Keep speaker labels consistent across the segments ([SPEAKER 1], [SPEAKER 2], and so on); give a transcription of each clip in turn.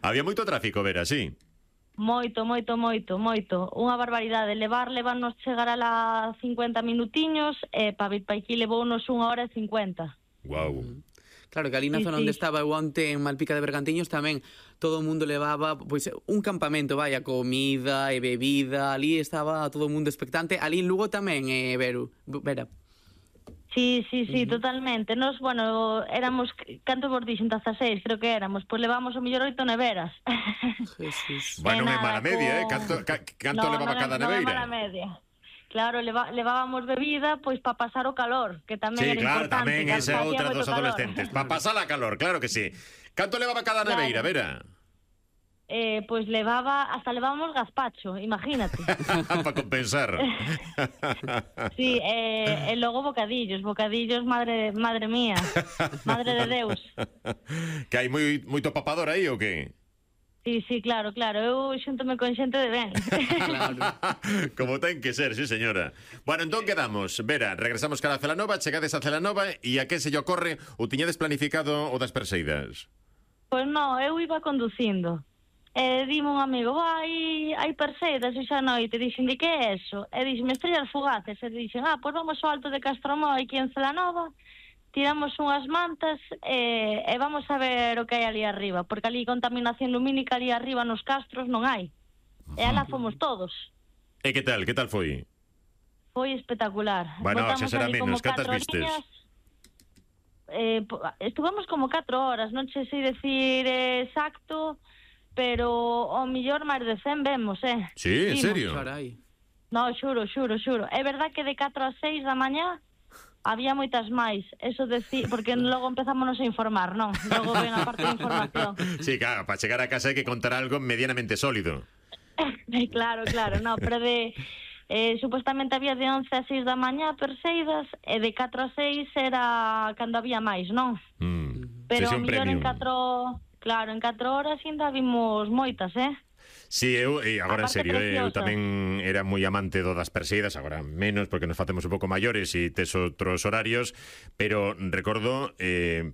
[SPEAKER 1] Había moito tráfico, Vera, sí.
[SPEAKER 2] Moito. Unha barbaridade. Levarnos chegar a las 50 minutiños, para vir pa aquí levounos 1 hora e 50.
[SPEAKER 1] Guau.
[SPEAKER 3] Claro, que ali na zona onde estaba eu onte en Malpica de Bergantiños tamén todo o mundo levaba pois un campamento, vaya, comida e bebida, ali estaba todo o mundo expectante. Ali en Lugo tamén, Vera.
[SPEAKER 2] Sí, totalmente. Nos, bueno, éramos, canto vos dixen, 16, creo que éramos, pois levamos o mellor 8 neveras.
[SPEAKER 3] Jesús.
[SPEAKER 1] Bueno, non é mala media, Canto levaba cada neveira?
[SPEAKER 2] Non é mala media. Claro, levábamos bebida pois para pasar o calor, que tamén era importante.
[SPEAKER 1] Tamén esa é outra dos adolescentes. Para pasar a calor, claro que sí. Canto levaba cada neveira, Vera?
[SPEAKER 2] Pois hasta levábamos gazpacho, imagínate.
[SPEAKER 1] Para compensar.
[SPEAKER 2] Sí, e logo bocadillos, madre mía, madre de Deus.
[SPEAKER 1] Que hai moito papador aí ou que?
[SPEAKER 2] Sí, claro, eu xúntome con xente de ben.
[SPEAKER 3] Claro.
[SPEAKER 1] Como ten que ser, sí señora. Bueno, entón quedamos, Vera, regresamos cara a Celanova, chegades a Celanova e a que se lle ocorre o tiñades planificado o das perseidas?
[SPEAKER 2] Pois non, eu iba conducindo. Dime un amigo, hai perseidas hoxe a noite, dixen, de que é eso? E dixen, estrellas fugaces, e dixen, pois vamos ao alto de Castromoi aquí en Celanova, tiramos unhas mantas e vamos a ver o que hai ali arriba, porque ali contaminación lumínica ali arriba nos castros non hai. E alá fomos todos.
[SPEAKER 1] E que tal foi?
[SPEAKER 2] Foi espectacular.
[SPEAKER 1] Bueno, xa será menos, cantas vistes?
[SPEAKER 2] Estuvemos como 4 horas, non sei decir exacto, pero ao millor máis de 100 vemos,
[SPEAKER 1] Sí, en serio?
[SPEAKER 3] Carai.
[SPEAKER 2] No, xuro. É verdad que de 4 a 6 da mañá había moitas máis, porque logo empezámonos a informar, non? Logo ven a parte de información.
[SPEAKER 1] Sí, claro, para chegar a casa hai que contar algo medianamente sólido.
[SPEAKER 2] Claro, no, pero supuestamente había de 11 a 6 da mañá perseidas, e de 4 a 6 era cando había máis, non? Pero ao mellor en 4 horas ainda vimos moitas,
[SPEAKER 1] Sí, agora en serio, eu tamén era moi amante das perseidas, agora menos porque nos facemos un pouco maiores e tes outros horarios, pero recordo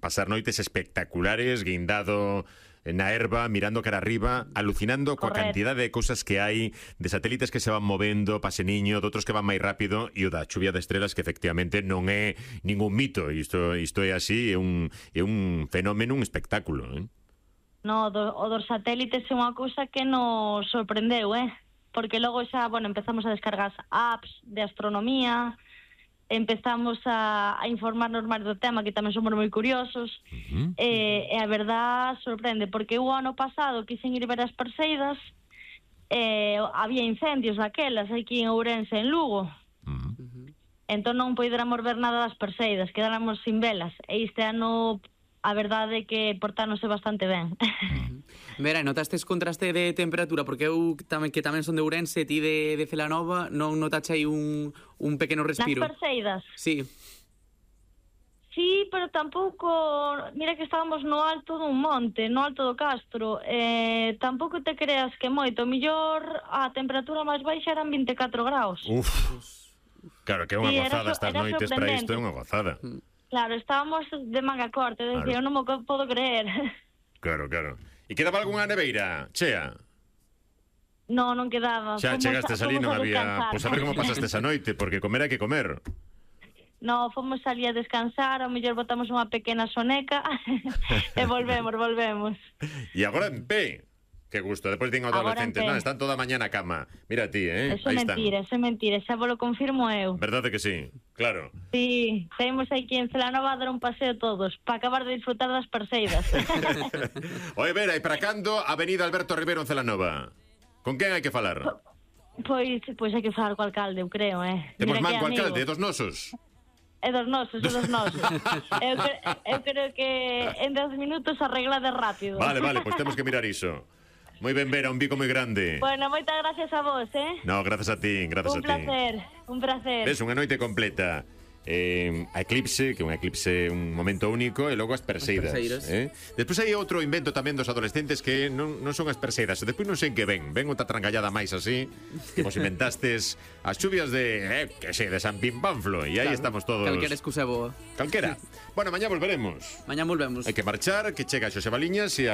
[SPEAKER 1] pasar noites espectaculares guindado na herba, mirando cara arriba, alucinando coa cantidade de cousas que hai, de satélites que se van movendo, paseniño, de outros que van máis rápido, e o da chuvia de estrelas que efectivamente non é ningún mito, isto é así, é un fenómeno, un espectáculo,
[SPEAKER 2] No, o dos satélites é unha cousa que nos sorprendeu, porque logo xa, empezamos a descargar apps de astronomía, empezamos a informarnos máis do tema, que tamén somos moi curiosos, e a verdad sorprende, porque o ano pasado quixen ir ver as perseidas, había incendios daquelas aquí en Ourense, en Lugo, entón non poderamos ver nada das perseidas, quedáramos sin velas, e este ano a verdade é que portáronse bastante ben.
[SPEAKER 3] Vera, notastes contraste de temperatura? Porque eu que tamén son de Ourense, ti de Celanova, non notache aí un pequeno respiro?
[SPEAKER 2] Nas perseidas?
[SPEAKER 3] Sí.
[SPEAKER 2] Sí, pero tampouco... Mira que estábamos no alto dun monte, no alto do Castro. Tampouco te creas que moito. Mellor a temperatura máis baixa eran 24 graus.
[SPEAKER 1] Uf. Claro, que é unha gozada estas noites para isto, é unha gozada.
[SPEAKER 2] Claro, estábamos de manga corta, eu non me podo creer.
[SPEAKER 1] Claro. E quedaba algunha neveira, chea?
[SPEAKER 2] Non quedaba.
[SPEAKER 1] Xa chegastes ali, non había... Pois a ver como pasaste esa noite, porque comer hai que comer.
[SPEAKER 2] No, fomos ali a descansar, ao mellor botamos unha pequena soneca e volvemos.
[SPEAKER 1] E agora en pé. Que gusto, depois din adolescentes, están toda a mañá na cama. Mira ti,
[SPEAKER 2] Eso é mentira, xa vos lo confirmo eu.
[SPEAKER 1] Verdade que sí, claro.
[SPEAKER 2] Sí, saímos aquí en Celanova a dar un paseo todos, para acabar de disfrutar das perseidas.
[SPEAKER 1] Oye, Vera, e para cando Avenida Alberto Rivero en Celanova? Con quen hai que falar?
[SPEAKER 2] Pois hai que falar co alcalde, eu creo,
[SPEAKER 1] Temos man co alcalde, dos nosos.
[SPEAKER 2] É dos nosos. Eu creo que en 10 minutos arreglade rápido.
[SPEAKER 1] Vale, pois temos que mirar iso. Moi ben, Vera, un bico moi grande.
[SPEAKER 2] Bueno, moitas gracias a vos,
[SPEAKER 1] No, gracias a ti,
[SPEAKER 2] Un placer.
[SPEAKER 1] Ves, unha noite completa. A Eclipse, que é un eclipse, un momento único, e logo as perseidas. Despois hai outro invento tamén dos adolescentes que non son as perseidas, despois non sei en que ven outra trangallada máis así, que vos inventastes as chuvias de San Pimpánflo, e aí estamos todos.
[SPEAKER 3] Calquera excusa boa.
[SPEAKER 1] Calquera. Bueno, mañá volveremos.
[SPEAKER 3] Hai que
[SPEAKER 1] marchar, que chega Xosé Baliñas e a